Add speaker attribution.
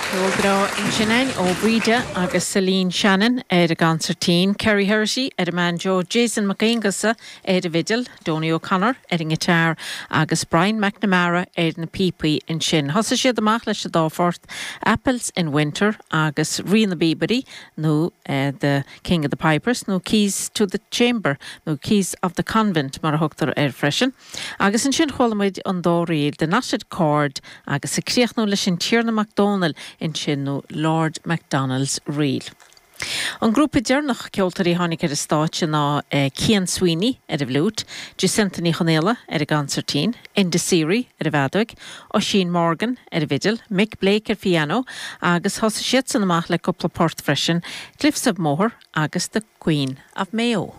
Speaker 1: Ceol breá ansin againn ó Bhríde agus Celine Shannon ar an gconsairtín, Kerry Herity ar an mbanjo, Jason Mac Aonghusa ar an bhfidil, Donie O'Connor ar an ngiotár agus Brian McNamara ar na píopaí ansin. Thosaigh siad amach leis an dá phort, Apples in Winter agus Rí na bPíobairí nó The King of the Pipers nó Keys to the Chamber nó Keys of the Convent mar a thugtar air freisin. Agus ansin chuala muid an dá ríl, The Knotted Cord agus ag críochnú leis an Tiarna Mac Dónaill ansin nó Lord MacDonald's Reel. An grúpa deireanach ceoltóirí a tháinig ar an stáitse ná Cian Sweeney ar an bhfliúit, Jacinta Ní Chonaola ar an gconsairtín, Enda Seery ar an bhfeadóig, Oisín Morgan ar an bhfidil, Mick Blake ar phianó agus thosaigh siadsan amach le cúpla port freisin, Cliffs of Moher agus The Queen of Mayo.